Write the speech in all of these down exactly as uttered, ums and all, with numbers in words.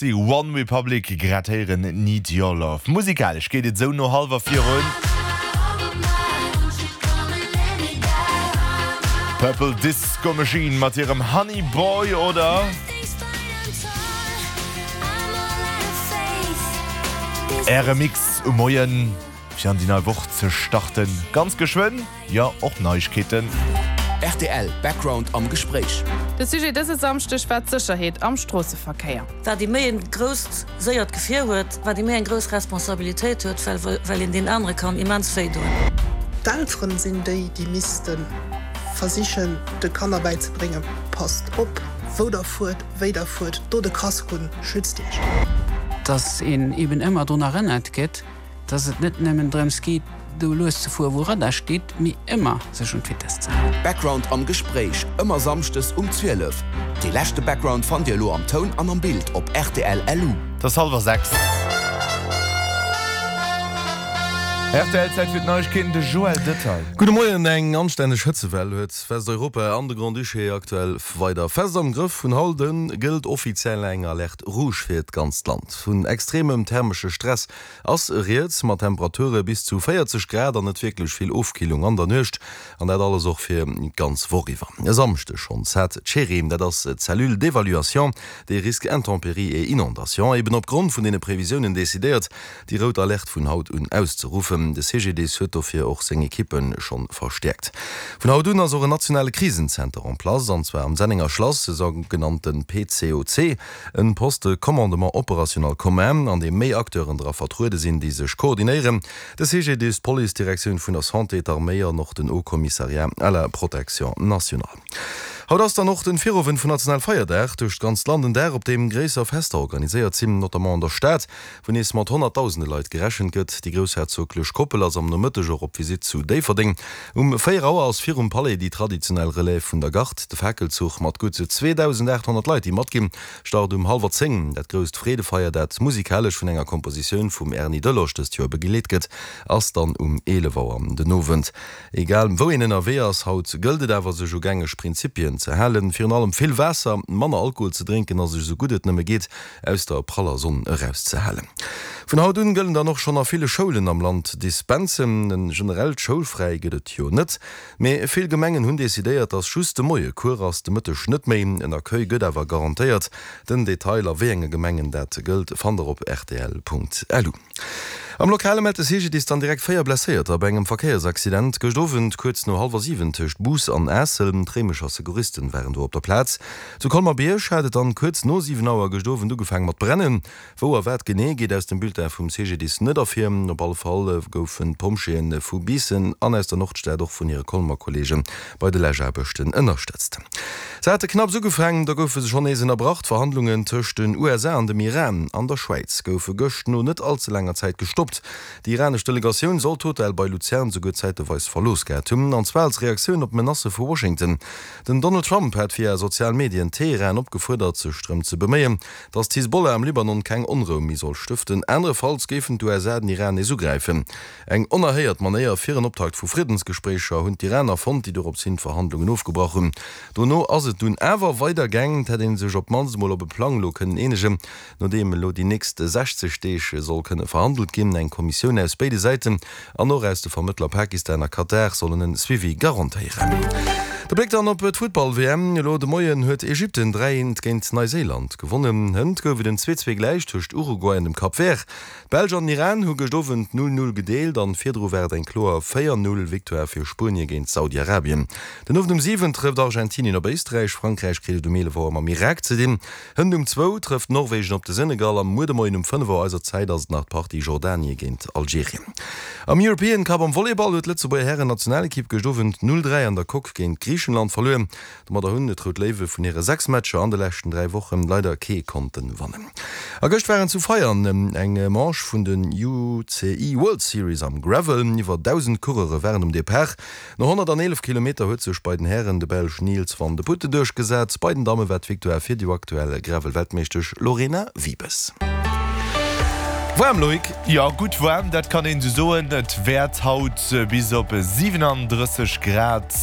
Merci. One Republic grad héieren Need Your Love. Musikalesch geet et sou no hallwer virun. Purple Disco Machine mat hirem Honey Boy oder Äre Mix um Moien fir an déi nei Woch ze starten. Ganz geschwënn, jo, och Neiegkeeten. Rtl Background am Gespréich. De Sujet dëse Samschdeg war d'Sécherheet am Stroosseverkéier. Wat ee méi e grousst, séiert Gefier huet, wat ee méi eng grouss Responsabilitéit huet, well well een deen anere kann immens wéi doen. D'Elteren sinn déi, déi misste versichen, de Kanner bäizebréngen, Passt op, wou der fuert, wéi der fuert, dot e Casque un, schützt iech. Dass een eben ëmmer drun erënnert gëtt, dass et net nëmmen drëms geet, do lues ze fueren, wou Radar steet, mee ëmmer sech un d'Vitess ze halen. Background am Gespréich, ëmmer samschdes um zwielef. Dee leschte Background fannt Dir elo am Toun an am Bild op rtl. Lu. Et ass hallwer sechs. Rtl, Zäit fir d'Neiegkeeten, de Joël Detail. Gudde Moien, Eng anstänneg Hëtzewell huet Westeuropa an de Grand-Duché aktuell weider fest am Grëff. Vun haut un gëllt offiziell eng Alerte rouge fir d'ganzt Land. Vun extremem thermesche Stress ass rieds, mat Temperature bis zu véierzeg Grad an net wierklech vill Ofkillung an der Nuecht. An dat alles och fir d'ganz Woch iwwer. E Samschdeg schonns hat d'Cerim, dat ass d'Cellule d'évaluation des risques intempéries et inondations, eben opgrond vun deene Previsiounen decidéiert, déi rout Alerte vun haut un auszeruffen. De C G D I S huet dofir och seng Ekippe schonn verstäerkt. Vun haut un ass och en nationale Krisenzenter en place, an zwar am Sennenger Schlass, e sougenannte P C O C, en Poste de commandement opérationnel commun, an deem méi Acteuren dra vertruede sinn, déi sech koordinéieren, de C G D I S, d'Police, d'Direktioun vun der Santé, d'Arméi an och den Haut Commissariat à la protection nationale. Haut ass dann och den Virowend vun Nationalfeierdag, duerch d'ganzt Land en Dag, op deem gréisser Fester organiséiert sinn, notamment an der Stad, wou nees mat honnertdausende Leit gerechent gëtt. Déi groussherzoglech Koppel ass am Nomëtteg och op Visitt zu Déifferdeng. Um véier Auer ass virum Palais déi traditionell Relève vun der Garde. De Fakelzuch mat gutt zweedausendaathonnert Leit, déi matginn, start um hallwer zéng. Dat grousst Freedefeier, dat musikalesch vun enger Kompositioun vum Erny Delosch dëst Joer begleet gëtt, ass dann um eelef Auer den Owend. Egal wou een ënnerwee ass, haut gëllt et awer sech u gängeg Prinzipien ze halen, virun allem vill Waasser, manner Alkohol ze drénken a sech esou gutt et nëmme geet aus der praller Sonn erauszehalen. Vun haut un gëllen dann och schonn a ville Schoulen am Land Dispensen. En generellt Schoulfräi gëtt et jo net, mee vill Gemengen hunn decidéiert, dass just de Moie Cours ass, de Mëtteg net méi. En Accueil gëtt awer garantéiert. Den Detail a wéi enge Gemengen dat gëllt, fannt der op rtl Punkt lu. Am Lokale mellt de C G D I S dann direkt véier Blesséierter bei engem Verkéiersaccident gëscht Owend kuerz no hallwer siwen tëscht Bous an Aassel. D'Réimecher Secouristen waren do op der Plaz. Zu Colmer-Bierg hat et dann kuerz no siwen Auer gëscht Owend ugefaange mat brennen. Wou a wat genee geet aus dem Bulletin vum C G D I S net ervir. Op alle Fall goufen d'Pompjeeë vu Biissen an aus der Nordstad och vun hire Colmer Kolleege bei de Läschaarbechten ënnerstëtzt. Se hate knapps ugefaangen, da goufe se schonn nees ënnerbrach. D'Verhandlungen tëscht den U S A an dem Iran an der Schwäiz goufe gëscht no net all ze laanger Zäit gestoppt. Déi iranesch Delegatioun soll d'Hotel bei Luzern souguer zäiteweis verlooss gehat hunn, an zwar als Reaktioun op d'Menacë vu Washington. Den Donald Trump hat via sozial Medien Teheran opgefuerdert, sech drëm ze beméien, datt d'Hisbollah am Libanon keng Onrou méi soll stëften, anerefalls géifen d'U S A den Iran nees ugräifen. Eng onerhéiert Manéier fir en Optakt vu Friddensgespréicher hunn d'Iraner fonnt, déi dorops hin d'Verhandlungen ofgebrach hunn. Dono ass et dunn awer weider gaang, et hätt ee sech op d'mannst emol op e Plang elo kënnen eenegen, no deem elo déi nächst sechzeg Deeg soll kënne verhandelt ginn. Eng Kommissioun aus béide Säiten an och aus de Vermëttler Pakistan a Katar sollen en Suivi garantéieren. De Bléck dann op d'Futtball-W M. Elo de Moien huet Ägypten dräi eent géint Neiséiland gewonnen. Hënt gouf et en zwee zwee gläich tëscht Uruguay an dem Cap Vert. D'Belsch an den Iran hu gëscht Owend null null gedeelt an virdru war et eng kloer véier null Victoire fir Spuenie géint Saudi-Arabien. Den Owend um siwen trëfft Argentinien op Éisträich, Frankräich kritt et um eelef Auer mam Irak ze dinn. Hënt um zwou trëfft Norwegen op de Senegal a muer de Moien um fënnef Auer eiser Zäit ass et nach d'Partie Jordanie géint Algerien. Am European Cup am Volleyball huet d'Lëtzebuerger Hären-Nationalekipp gëscht Owend null dräi an der Coque géint Griichenland verluer. Domadder hunn d'Rout Léiwe vun hire sechs Matcher an de leschten dräi Wochen leider kee konnten wannen. A gëscht waren zu Veianen eng Manche vun den U C I World Series am Gravel. Iwwer dausend Coureure waren um Depart. No honnerteelef Kilometer huet sech bei den Hären de Belsch Niels Vandeputte duerchgesat. Bei den Damme war d'Victoire fir déi aktuell Gravel-Weltmeeschtesch Lorena Wiebes. Waarm, Loïc? Jo, gutt waarm, dat kann een esou soen. Et wäert haut bis op siwenandrësseg Grad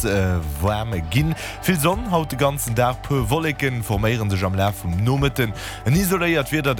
waarm ginn. Vill Sonn haut de ganzen Dag, puer Wolleke forméiere sech am Laf vum Nomëtten. En isoléiert Wieder, dat.